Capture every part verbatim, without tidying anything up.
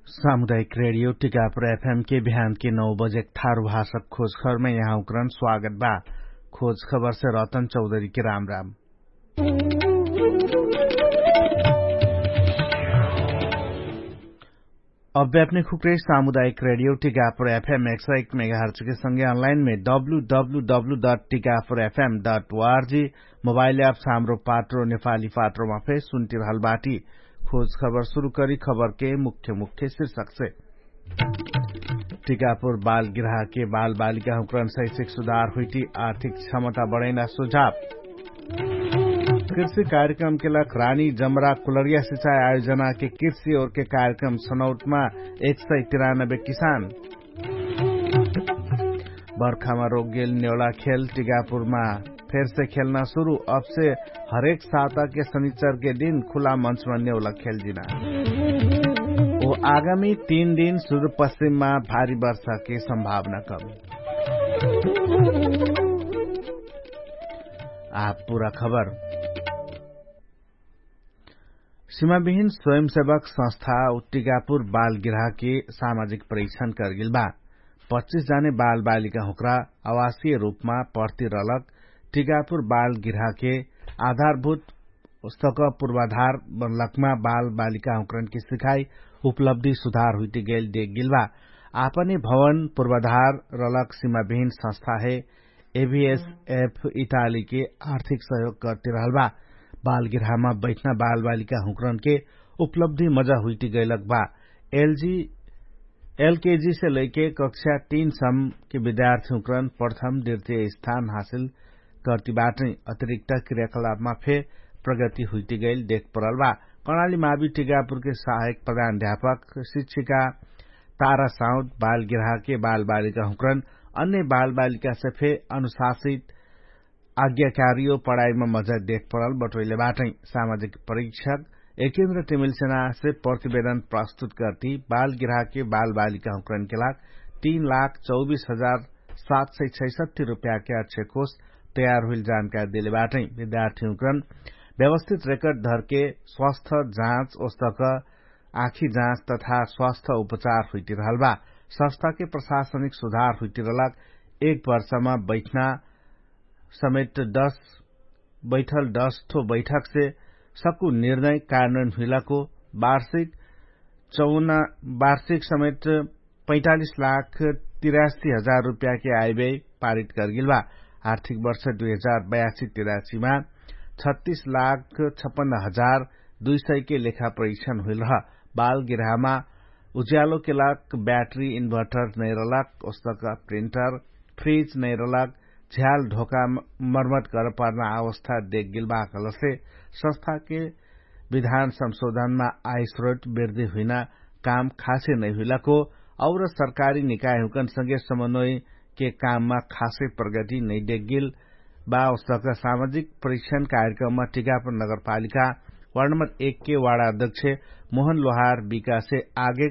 सामुदायिक रेडियो टिकापुर एफएम के बिहान के नौ बजे थारु भाषक खोजखबरमे यहाँ उक्रन स्वागत बा। खोजखबर से रतन चौधरी के राम राम। अव्यापने खुक्रे सामुदायिक रेडियो टिकापुर एफएम एक सौ एक मेगाहर्च के संगे अनलाइन मे W W W dot Tikapur FM dot ORG mobile app सामरो पात्रो नेपाली पात्रोमा फे सुन्टिरहल बाटी। खोज खबर सुरु करी खबर के मुख्य मुख्य शीर्षक से। टिकापुर बाल गिराह के बाल बालिका हुक्रन शैक्षिक सुधार हुइटी आर्थिक क्षमता बढैना सुझाव। कृषि कार्यक्रम के लख रानी जमरा कुलरिया सिचाई आयोजना के कृषि ओर के कार्यक्रम सनौटमा एक सय तिरानबे किसान। बर्खामा रोगेल नेउला खेल टिकापुरमा फेरसे खेल्ना सुरु। अबसे हरेक साता के शनिचर के दिन खुला मन्चमा नेउला खेल जिना। ओ आगामी तीन दिन सुरुपश्चिममा भारी वर्षा के सम्भावना कमी। आ पुरा खबर। सिमाविहिन स्वयंसेवक संस्था उत्तिकापुर बाल गिराह के सामाजिक परीक्षण करगेल बा। पच्चिस जाने बाल बालिका हुक्रा आवासीय रूपमा पर्ति रलक टिकापुर बाल गिराह के आधारभूत उस्तक पुर्वाधार बनलकमा बाल बालिका हुक्रन के सिखाई उपलब्धि सुधार हुइटिगेल देख गेल बा। आपने भवन पुर्वाधार रलक सिमाविहिन संस्था हे एभिएसएफ इटाली के आर्थिक सहयोग करतिरहल बा। बाल गिराहमा बैठना बाल बालिका हुक्रन के उपलब्धि मजा हुइटिगेलक बा। एलजी एलकेजी से लैके कक्षा तीन सम के विद्यार्थी हुक्रन प्रथम दृतीय स्थान हासिल करतिबाटै अतिरिक्त क्रियाकलापमा फे प्रगति हुइटिगेल देख परल बा। कर्णाली मावी टिकापुर के सहायक प्रधान अध्यापक शिक्षिका तारा साउद बाल गिराह के बाल बालिका हुक्रन अन्य बाल बालिका से फे अनुशासित आज्ञाकारियो पढाइमा मजा देख परल बटोइले बाटै। सामाजिक परीक्षक एकेन्द्र टिमिल सेना से प्रतिवेदन प्रस्तुत करती बाल गिराह के बाल बालिका हुक्रन के लाग तीन लाख चौबीस हजार सात सय छैसठी रुपैया के अक्षकोष तयार हुइल जानकारी देले बाटै। विद्यार्थी हुक्रन व्यवस्थित रेकर्ड धरके स्वस्थ जाँच ओस्तक आँखी जाँच तथा स्वस्थ उपचार हुइटिरहल बा। संस्था के प्रशासनिक सुधार हुइटिरहलक एक वर्षमा बैठना समेत दस बैठल दस ठो बैठक से सकु निर्णय कारणन हुइलाको वार्षिक चौना वार्षिक समेत पैँतालिस लाख तिरासी हजार रुपैया के आइबे पारित करगेल बा। आर्थिक वर्ष दुई हजार बयासी तिरासीमा छत्तीस लाख छप्पन्न हजार दुई सय के लेखा परीक्षण हुइल रह। बाल गिराहमा उज्यालो के लाग ब्याटरी इन्भर्टर नैरलक ओस्तक प्रिन्टर फ्रिज नैरलक झ्याल ढोका मर्मत गर पर्ना अवस्था देख गेल बा कहलसे संस्था के विधान संशोधनमा आयस्रोत वृद्धि हुइना काम खासे नै हुइलाको और सरकारी निकायहुँकन संगे समन्वय के काममा खासे प्रगति नै देख गेल बा। ओस्तक सामाजिक परीक्षण कार्यक्रममा टिकापुर नगरपालिका वार्ड नम्बर एक के वार्ड अध्यक्ष मोहन लोहार विकासे आगे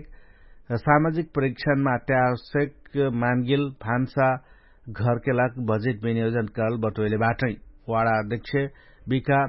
सामाजिक परीक्षणमा अत्यावश्यक मानगेल भान्सा घरके लाग बजेट विनियोजन करल बटोइले बाटै। वाडा अध्यक्ष बिका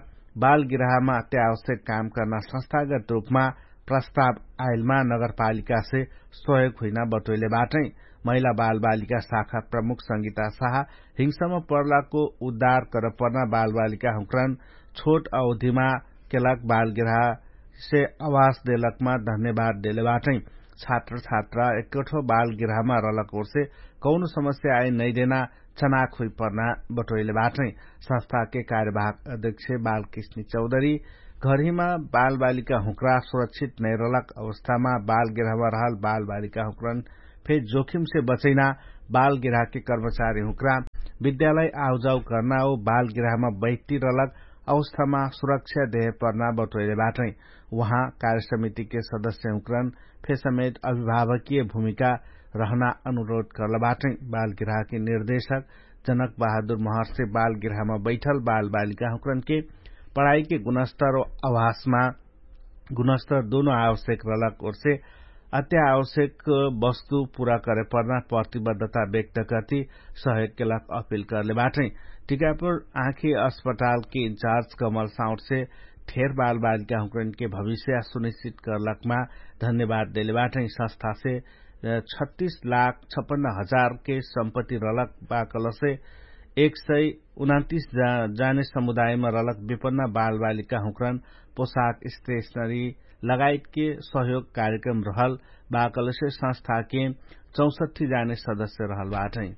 बालगिराहमा अत्यावश्यक काम कर्ना संस्थागत रूपमा प्रस्ताव आइलमा नगरपालिकासे सहयोग हुइना बटोइले बाटै। महिला बालबालिका शाखा प्रमुख संगीता साहा हिंसम पर्लाको उद्धार करपर्ना बालबालिका हुँक्रन छोट अवधिमा केलाक बालगिराहसे आवास देलकमा धन्यवाद देले बाटै। छात्र छात्रा एक्कठो बाल गिराहमा रहलक ओर्से कौनो समस्या आइ नैदेना चनाक हुइपर्ना बटोइले बाटै। संस्थाके कार्यवाहक अध्यक्ष बालकृष्ण चौधरी घरहिमा बालबालिका हुँक्रा सुरक्षित नैरहलक अवस्थामा बाल गिराहमा रहल बालबालिका हुँक्रन फे जोखिमसे बचैना बाल गिराहके कर्मचारी हुँक्रा विद्यालय आउजाउ कर्ना ओ बाल गिराहमा बैठती रहलक अवस्थामा सुरक्षा देहे पर्ना बटोइले बाटै। उहाँ कार्यसमितिके सदस्य हुँक्रन फेसमेत अभिभावकीय भूमिका रहना अनुरोध कर्ल बाटै। बालगिराहके निर्देशक जनक बहादुर महर्षे बालगिराहमा बैठल बालबालिका हुँक्रनके पढाइके गुणस्तर आवासमा गुणस्तर दुनो आवश्यक रहलक ओर्से अत्यावश्यक वस्तु पुरा करेपर्ना प्रतिबद्धता व्यक्त कर्ति सहयोग केलक अपिल कर्ले बाटै। टिकापुर आँखी अस्पतालके इन्चार्ज कमल साउटसे ठेर बालबालिका हुँकरनके भविष्य सुनिश्चित करलकमा धन्यवाद देले बाटै। संस्थासे छत्तीस लाख छपन्न हजार के सम्पत्ति रहलक बाकलसे एक सय उनान्तिस जाने समुदायमा रहलक विपन्न बालबालिका हुँकरन पोशाक स्टेशनरी लगायतके सहयोग कार्यक्रम रहल बाकलसे संस्थाके चौसट्ठी जाने सदस्य रहल बाटै।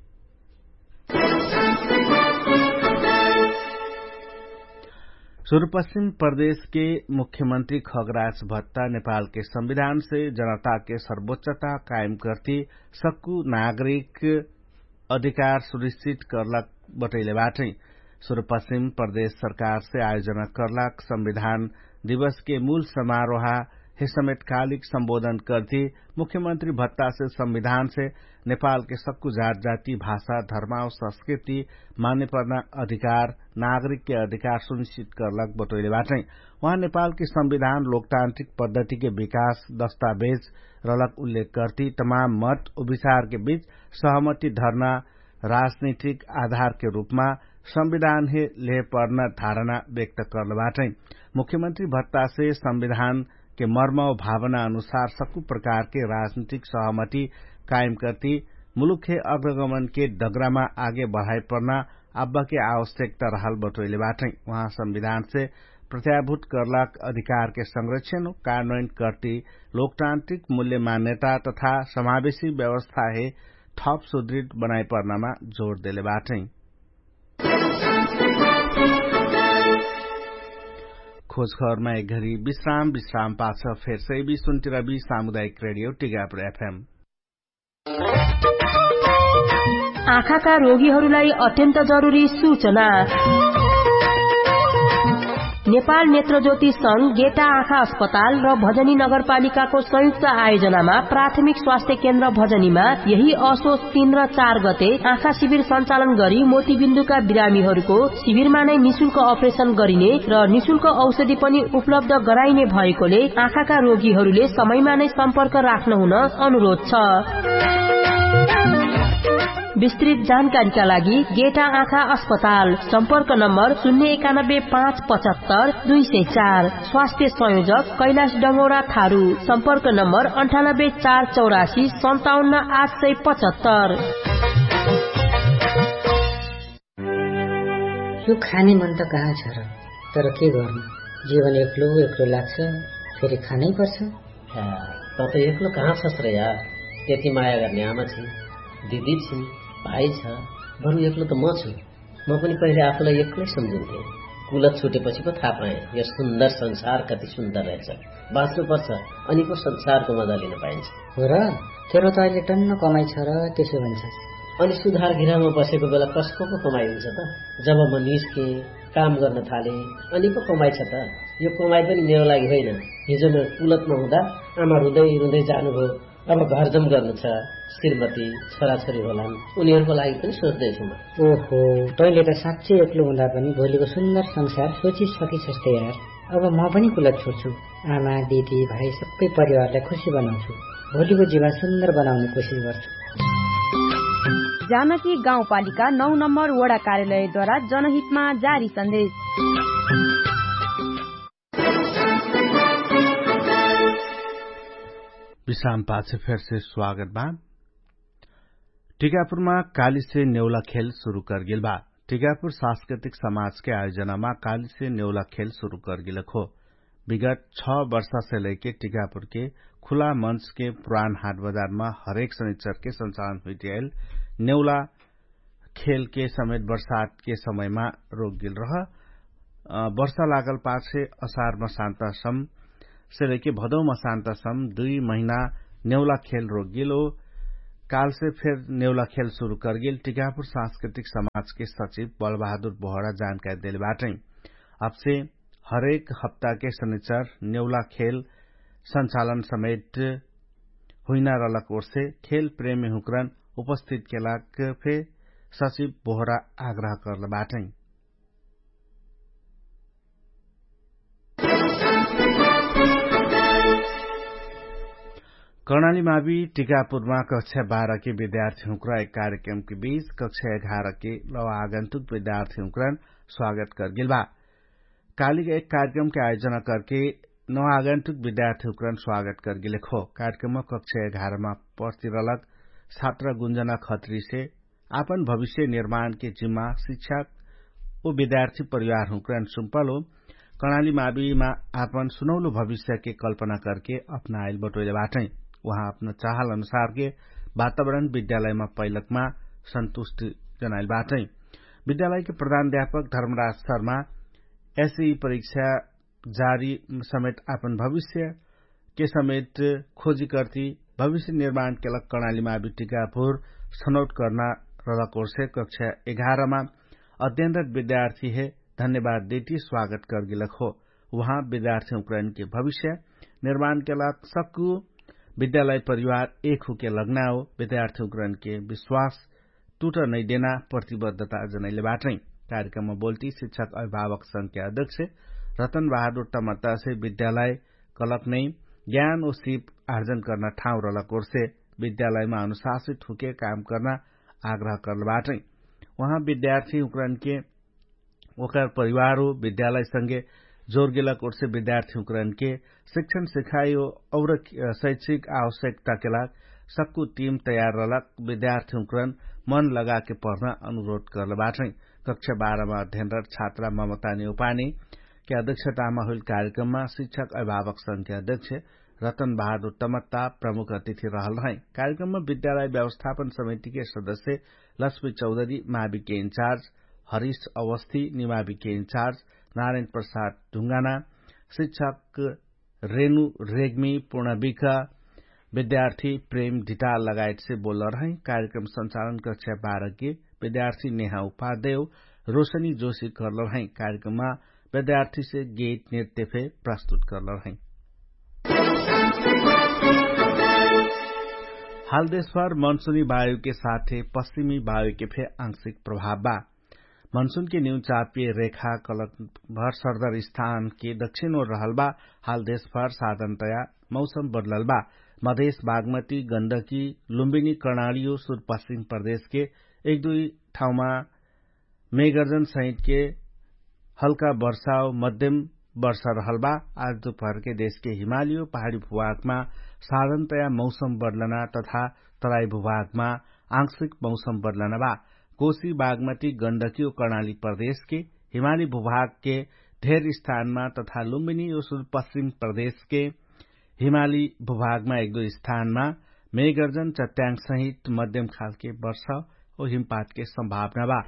सुरुपश्चिम प्रदेशके मुख्यमन्त्री खगराज भत्ता नेपालके संविधानसे जनताके सर्वोच्चता कायम कर्ति सक्कु नागरिक अधिकार सुनिश्चित कर्लक बटैले बाटै। सुरुपश्चिम प्रदेश सरकारसे आयोजना कर्लक संविधान दिवसके मूल समारोहा हे समेटकालिक सम्बोधन कर्ति मुख्यमन्त्री भत्तासे संविधानसे नेपालके सक्कु जात जाति भाषा धर्माव संस्कृति मान्यपर्ना अधिकार नागरिकके अधिकार सुनिश्चित कर्लक बटोइले बाटै। उहाँ नेपालके संविधान लोकतान्त्रिक पद्धतिके विकास दस्तावेज रहलक उल्लेख कर्ति तमाम मत उपविचारके बीच सहमति धर्ना राजनीतिक आधारके रूपमा संविधानहे लेहपर्ना धारणा व्यक्त कर्ल बाटै। मुख्यमन्त्री भत्तासे संविधानके मर्म भावना अनुसार सक्कु प्रकारके राजनीतिक सहमति कायम कर्ति मुलुकहे अग्रगमनके डगरामा आगे बढाइपर्ना अब्बके आवश्यकता रहल बटोइले बाटै। उहाँ संविधानसे प्रत्याभूत कर्लाक अधिकारके संरक्षण कार्यान्वयन कर्ति लोकतान्त्रिक मूल्य मान्यता तथा समावेशी व्यवस्थाहे थप सुदृढ बनाइपर्नामा जोड देले बाटै। खोजखबरमा एक घरी विश्राम विश्राम पाछ फेर सैबी सुन्टिरबी सामुदायिक रेडियो टिगापुर एफएम। आँखाका रोगीहरूलाई अत्यन्त जरुरी सूचना। नेपाल नेत्रज्योति संघ गेटा आँखा अस्पताल र भजनी नगरपालिकाको संयुक्त आयोजनामा प्राथमिक स्वास्थ्य केन्द्र भजनीमा यही असोच तीन र चार गते आँखा शिविर सञ्चालन गरी मोतीबिन्दुका बिरामीहरूको शिविरमा नै निशुल्क अपरेसन गरिने र निशुल्क औषधि पनि उपलब्ध गराइने भएकोले आँखाका रोगीहरूले समयमा नै सम्पर्क राख्न हुन अनुरोध छ। विस्तृत जानकारीका लागि गेटा आँखा अस्पताल, सम्पर्क नम्बर शून्य एकानब्बे पाँच पचहत्तर दुई सय चार। स्वास्थ्य संयोजक कैलाश डङ्गौरा थारू, सम्पर्क नम्बर अन्ठानब्बे चार चौरासी सन्ताउन्न आठ सय पचहत्तर। यो खाने मन त कहाँ छ र, तर के गर्नु, जीवन एक्लो एक्लो लाग्छ, फेरि खानै पर्छ। त त एक्लो कहाँ छस् र यार? यति माया गर्ने आमा छिन्, दिदी छिन्, भाइ छ, बरु एक्लो त म छु। म पनि पहिले आफूलाई एक्लै सम्झिन्थे। कुलत छुटेपछि पो थाहा पाएँ, यो सुन्दर संसार कति सुन्दर रहेछ। बाँच्नु पर्छ, अनि पो संसारको मजा लिन पाइन्छ। हो र, तेरो त अहिले टन्न कमाइ छ र, त्यसो भन्छ। अनि सुधार गृहमा बसेको बेला कसको पो कमाइ हुन्छ त? जब म निस्केँ, काम गर्न थालेँ, अनि पो कमाइ छ त? यो कमाइ पनि मेरो लागि होइन। हिजो म कुलतमा हुँदा आमा रुँदै रुँदै जानुभयो। अब घरजम गर्नु छ, श्रीमती, छोराछोरी होलान्, उनीहरूको लागि पनि सोच्दैछु म। ओहो, तैँले त साँच्चै एक्लो हुँदा पनि भोलिको सुन्दर संसार सोचिसकिछस् त यार। अब म पनि कुलत छोड्छु। आमा, दिदी, भाइ, सबै परिवारलाई खुसी बनाउँछु। भोलिको जीवन सुन्दर बनाउने कोसिस गर्छु। जानकी गाउँपालिका नौ नम्बर वडा कार्यालयद्वारा जनहितमा जारी सन्देश। विश्राम पाछे फेरसे स्वागत बा। टिकापुरमा कालीसे नेउला खेल सुरु करगेल बा। टिकापुर सांस्कृतिक समाजके आयोजनामा कालीसे नेउला खेल सुरु करगेल खो। विगत छ वर्षासे लैके टिकापुरके खुला मञ्चके पुरान हाट बजारमा हरेक शनिचरके सञ्चालन हुइटियाइल नेउला खेलके समेत बर्षातके समयमा रोकगेल रह। वर्षा लागल पाछे असारमा शान्तासम से लैके भदौमा शान्तासम दुई महिना नेउला खेल रोकगेल ओ कालसे फेर नेउला खेल सुरु करगेल टिकापुर सांस्कृतिक समाजके सचिव बलबहादुर बोहरा जानकारी देले बाटै। अबसे हरेक हप्ताके शनिचर नेउला खेल सञ्चालन समेट हुइना रहलक ओर्से खेल प्रेमी हुँकरन उपस्थित केलाक फे सचिव बोहरा आग्रह कर्ल बाटै। कर्णाली मावी टिकापुरमा कक्षा बाह्र के विद्यार्थी हुँक्रा एक कार्यक्रम के बीच कक्षा एघार के लवा आगन्तुक विद्यार्थी हुँक्रान स्वागत करगेल बा। कालिक एक कार्यक्रमके आयोजना करके नवागन्तुक विद्यार्थी हुँकरन स्वागत करगेलेक हो। कार्यक्रममा कक्षा एघारमा पर्तिरलक छात्रा गुन्जना खत्रीसे आपन भविष्य निर्माणके जिम्मा शिक्षक उ विद्यार्थी परिवार हुँकरन सुम्पल हो। कणाली माविमा आपन सुनौलो भविष्यके कल्पना करके अपनाएल बटोइले बाटै। उहाँ अपना चाहल अनुसारके वातावरण विद्यालयमा पैलकमा सन्तुष्टि जनाएल बाटै। विद्यालयके प्रधान अध्यापक धर्मराज शर्मा एसई परीक्षा जारी समेत आपन भविष्यके समेत खोजी कर्ती भविष्य निर्माणके लग कणाली मावि टिकापुर सनौट कर्ना रलक ओर्से कक्षा एघारमा अध्ययनरत विद्यार्थी हे धन्यवाद देती स्वागत करगेलक हो। उहाँ विद्यार्थी हुँकरनके भविष्य निर्माणके लग सक्कु विद्यालय परिवार एक हुके लग्ना हो। विद्यार्थी हुँकरनके विश्वास टुट नैदेना प्रतिबद्धता जनैले बाटै। कार्यक्रममा बोल्ती शिक्षक अभिभावक संख्या अध्यक्ष रतन बहादुर टमत्तासे विद्यालय कलक नै ज्ञान ओ सिप आर्जन कर्ना ठाउँ रलक ओर्से विद्यालयमा अनुशासित हुके काम कर्ना आग्रह कर्ल बाटै। उहाँ विद्यार्थी हुँकरनके ओकर परिवार हो विद्यालय संगे जोरगेलक ओर्से विद्यार्थी हुँकरनके शिक्षण सिखाइ हो और शैक्षिक आवश्यकताके लाग सक्कु टिम तयार रहलक विद्यार्थी हुँकरन मन लगाके पढ्न अनुरोध करल बाटै। कक्षा बाह्रमा अध्ययनरत छात्रा ममता नेउपानीके अध्यक्षतामा होइल कार्यक्रममा शिक्षक अभिभावक संख्या अध्यक्ष रतन बहादुर टमत्ता प्रमुख अतिथि रहल रहै। कार्यक्रममा विद्यालय व्यवस्थापन समितिके सदस्य लक्ष्मी चौधरी माविके इन्चार्ज हरिश अवस्थी निमाविके इन्चार्ज नारायण प्रसाद ढुङ्गाना शिक्षक रेणु रेग्मी पूर्णविका विद्यार्थी प्रेम ढिटाल लगायतसे बोल्ल रहै। कार्यक्रम संचालन कक्षा बाह्रके विद्यार्थी नेहा उपाध्याय रोशनी जोशी कर्ल रहै। कार्यक्रममा विद्यार्थीसे गीत नृत्य फे प्रस्तुत कर्ल रहै। हाल देशभर मनसुनी वायुके साथे पश्चिमी वायुके फे आंशिक प्रभाव बा। मनसुनके न्यू चापिय रेखा कलक भर सरदर स्थानके दक्षिण ओर रहल बा। हाल देशभर साधनतया मौसम बदलल बा। मधेश बागमती गन्दकी लुम्बिनी कर्णालियो सुरपश्चिम प्रदेशके एक दुई ठाउँमा मेगर्जन सहितके हल्का वर्षा ओ मध्यम वर्षा रहल बा। आज दुपहरके देशके हिमालियो पहाडी भुभागमा साधनतया मौसम बदलना तथा तराई भुभागमा आंशिक मौसम बदलना बा। कोशी बागमती गन्दकी ओ कर्णाली प्रदेशके हिमाली भुभागके धेर स्थानमा तथा लुम्बिनी ओ सुरपश्चिम प्रदेशके हिमाली भुभागमा एक दुई स्थानमा मेगर्जन चट्याङ सहित मध्यम खालके वर्ष ओ हिमपातके सम्भावना बा।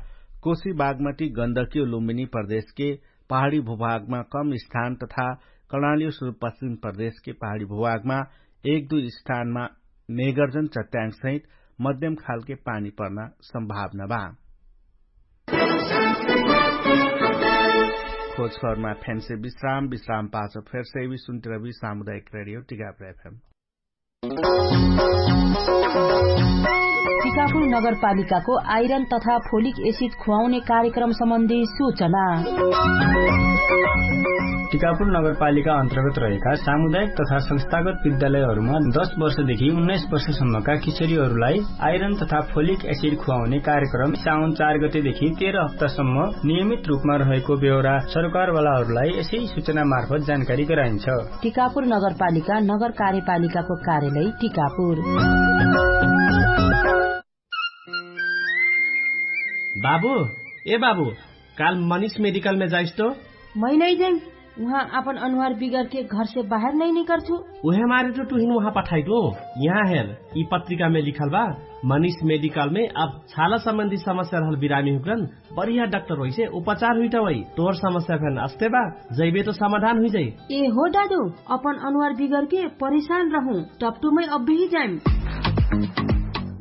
कोशी बागमती गन्दकी ओ लुम्बिनी प्रदेशके पहाडी भुभागमा कम स्थान तथा कर्णाली ओ सुरपश्चिम प्रदेशके पहाडी भुभागमा एक दुई स्थानमा मेगर्जन चट्याङ सहित मध्यम खालके पानी पर्ना सम्भावना बा। खोजखबरमा फेन्से विश्राम विश्राम पाछो फेर्से एवी सुन्तिरवी सामुदायिक रेडियो टिकापुर एफएम। टिकापुर नगरपालिकाको आइरन तथा फोलिक एसिड खुवाउने कार्यक्रम सम्बन्धी सूचना। टिकापुर नगरपालिका अन्तर्गत रहेका सामुदायिक तथा संस्थागत विद्यालयहरूमा दश वर्षदेखि उन्नाइस वर्षसम्मका किशोरीहरूलाई आइरन तथा फोलिक एसिड खुवाउने कार्यक्रम साउन चार गतेदेखि तेह्र हप्तासम्म नियमित रूपमा रहेको बेहोरा सरकारवालाहरूलाई यसै सूचना मार्फत जानकारी गराइन्छ। टिकापुर नगरपालिका नगर कार्यपालिकाको कार्यालय टिकापुर। बाबु, ए बाबु, काल मनिष मेडिकलमे जाइस्तो। मै नै जाइ। उहाँ आपन अनुहार बिगरके घरसे बाहेर नै निकर्छु। उहे मारे टु टुहिन उहाँ पठाइटु। यहाँ हेर, यि पत्रिकामे लिखल बा, मनिष मेडिकलमे अब छाला सम्बन्धी समस्या रहल बिरामी हुक्रन, बढिया डाक्टर होइसे उपचार हुइटवै। तोर समस्या फेन अस्ते बा, जैबे तो समाधान हुइजै। ए हो दादु, अपन अनुहार बिगरके परेशान रहु, टप्टुमै अब्बेही जाइम।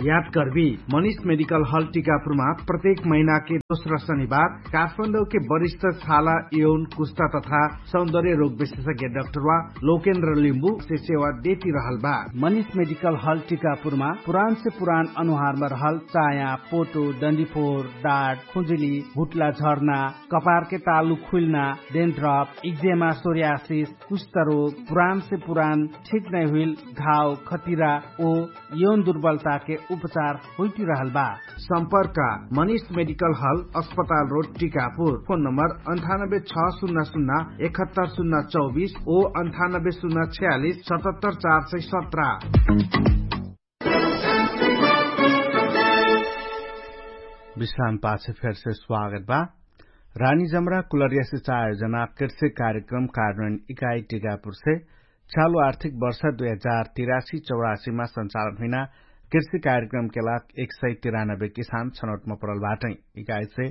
याद करबी, मनिष मेडिकल हल टिकापुरमा प्रत्येक महिनाके दोस्रा शनिबार काठमाडौके वरिष्ठ छाला, यौन, कुस्ता तथा सौन्दर्य रोग विशेषज्ञ डाक्टरवा लोकेन्द्र लिम्बु से सेवा देती रहल बा। मनिष मेडिकल हल टिकापुरमा पुरान से पुरान अनुहारमा रहल चाया, पोटो, डन्डीफोर, डाट, खुजुली, हुट्ला झर्ना, कपारके तालु खुइल्ना, डेन्ड्रप, इक्जेमा, सोरियासिस, कुष्ठरोग, पुरान से पुरान ठीक नै हुइल घाव, खतिरा ओ यौन दुर्बलताके उपचार होइटिरहल बा। सम्पर्क मनिष मेडिकल हल अस्पताल रोड टिकापुर। फोन नम्बर अन्ठानब्बे छ सुन्ना सुन्ना एकहत्तर सुन्ना चौबिस ओ अन्ठानब्बे सुन्ना छ्यालिस सतहत्तर चार सय सत्र। विश्राम पाछ फेरसे स्वागत बा। रानी जमरा कुलरिया सिचाइ आयोजना कृषि कार्यक्रम कार्यान्वयन इकाइ टिकापुरसे चालु आर्थिक वर्ष दुई हजार तिरासी चौरासीमा सञ्चालन हुइना कृषि कार्यक्रमके लाग एक सय तिरानब्बे किसान छनौटमा परल बाटै। इकाइसे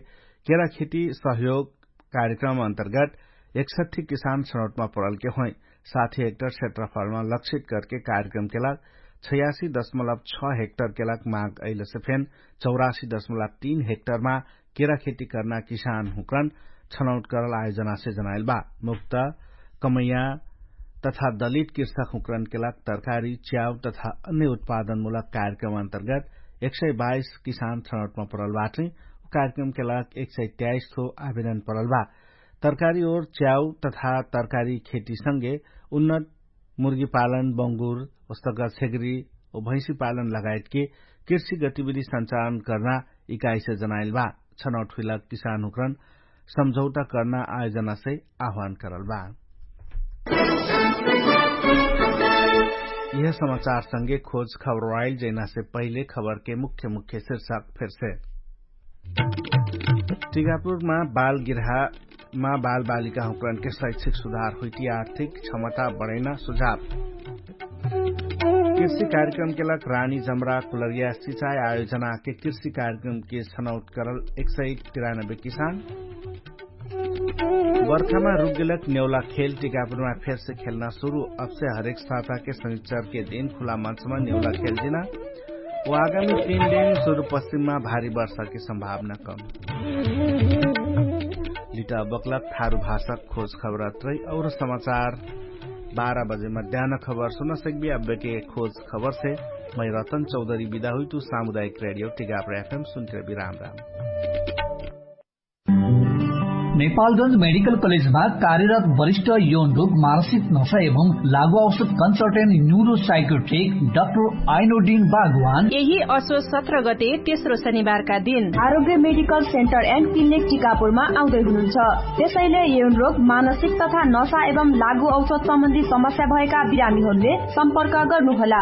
केरा खेती सहयोग कार्यक्रम अन्तर्गत एकसट्ठी किसान छनौटमा परलके होइ। साथी हेक्टर क्षेत्रफलमा लक्षित करके कार्यक्रमके लाग छयासी दशमलब छ हेक्टरके लाग माग अइलसे फेन चौरासी दशमलब तीन हेक्टरमा केरा खेती कर्ना किसान हुँक्रन छनौट करल आयोजनासे जनाइल बा। मुक्त कमैया तथा दलित कृषक हुँक्रनके लाग तरकारी च्याउ तथा अन्य उत्पादनमुलक कार्यक्रम अन्तर्गत एक सय बाइस किसान छनौटमा परल बाटै। उ कार्यक्रमके लाग एक सय त्याइस थो आवेदन परल बा। तरकारी ओर च्याउ तथा तरकारी खेतीसँगे उन्नत मुर्गी पालन बङ्गुर ओस्तका छेगरी ओ भैँसी पालन लगायतके कृषि गतिविधि सञ्चालन कर्ना इकाइसे जनाइल बा। छनौट हुइला किसान हुँक्रन सम्झौता कर्ना आयोजनासे आह्वान करल बा। यह समाचारसँगे खोज खबर आइल जैनासे पहिले खबरके मुख्य मुख्य शिर्षक फेरसे। टिकापुरमा बालगिर्हामा बालबालिका हुँक्रनके शैक्षिक सुधार हुइटी आर्थिक क्षमता बढैना सुझाव। कृषि कार्यक्रमके लाग रानी जमरा कुलरिया सिचाइ आयोजनाके कृषि कार्यक्रमके छनौट करल एक सय तिरानब्बे किसान। बर्खामा रुगेलक नेउला खेल टिकापुरमा फेरसे खेल्ना सुरु। अबसे हरेक साताके शनिचरके दिन खुला मन्चमा नेउला खेल जिना। उ आगामी तीन दिन सुरुपश्चिममा भारी वर्षाके सम्भावना कम। लिटा बक्लक थारु भाषक खोज खबरत रही और समाचार बाह्र बजे मध्यान खबर सुन सकबी। अब्बेके खोज खबरसे मै रतन चौधरी बिदा हुइतु। सामुदायिक रेडियो टिकापुर एफएम सुन्त्रे बिराम राम। नेपालगंज मेडिकल कलेजमा कार्यरत वरिष्ठ यौन रोग मानसिक नशा एवं लागु औषध कन्सल्टेन्ट न्युरो साइकोट्रिक डाक्टर आइनोडिन बागवान यही असो सत्र गते तेस्रो शनिबारका दिन आरोग्य मेडिकल सेन्टर एन्ड क्लिनिक टिकापुरमा आउँदै हुनुहुन्छ। त्यसैले यौन रोग मानसिक तथा नशा एवं लागु औषध सम्बन्धी समस्या भएका बिरामीहरूले सम्पर्क गर्नुहोला।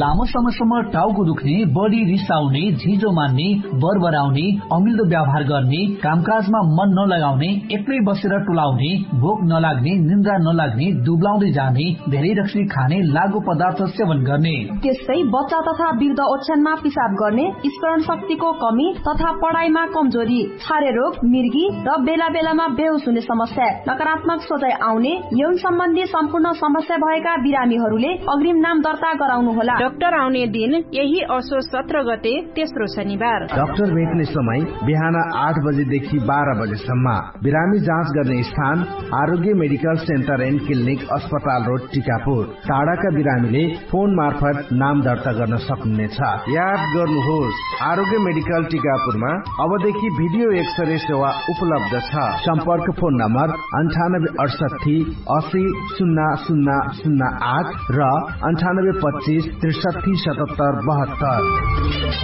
लामो समयसम्म टाउको दुख्ने, बढी रिसाउने, झिजो मान्ने, बरबराउने, अमिल्दो व्यवहार गर्ने, कामकाजमा मन नलगाउने, एक्लै बसेर टुलाउने, भोक नलाग्ने, निन्द्रा नलाग्ने, दुब्लाउँदै जाने, धेरै रक्सी खाने, लागु पदार्थ सेवन गर्ने। त्यस्तै बच्चा तथा वृद्ध ओछ्यानमा पिसाब गर्ने, स्मरण शक्तिको कमी तथा पढाइमा कमजोरी, छारे रोग, मिर्गी र बेला बेलामा बेहोस हुने समस्या, नकारात्मक सोचाइ आउने, यौन सम्बन्धी सम्पूर्ण समस्या भएका बिरामीहरूले अग्रिम नाम दर्ता गराउनु होला। डाक्टर आउने दिन यही असो सत्र गते तेस्रो शनिबार। डाक्टर भेट्ने समय बिहान आठ बजेदेखि बाह्र बजेसम्म। बिरामी जाँच गर्ने स्थान आरोग्य मेडिकल सेन्टर एन्ड क्लिनिक अस्पताल रोड टिकापुर। टाढाका बिरामीले फोन मार्फत नाम दर्ता गर्न सक्नुहुनेछ। याद गर्नुहोस्, आरोग्य मेडिकल टिकापुरमा अबदेखि भिडियो एक्सरे सेवा उपलब्ध छ। सम्पर्क फोन नम्बर अन्ठानब्बे अठसट्ठी असी सुन्ना सुन्ना सुन्ना आठ र अन्ठानब्बे पच्चिस त्रिसट्ठी सतहत्तर बहत्तर।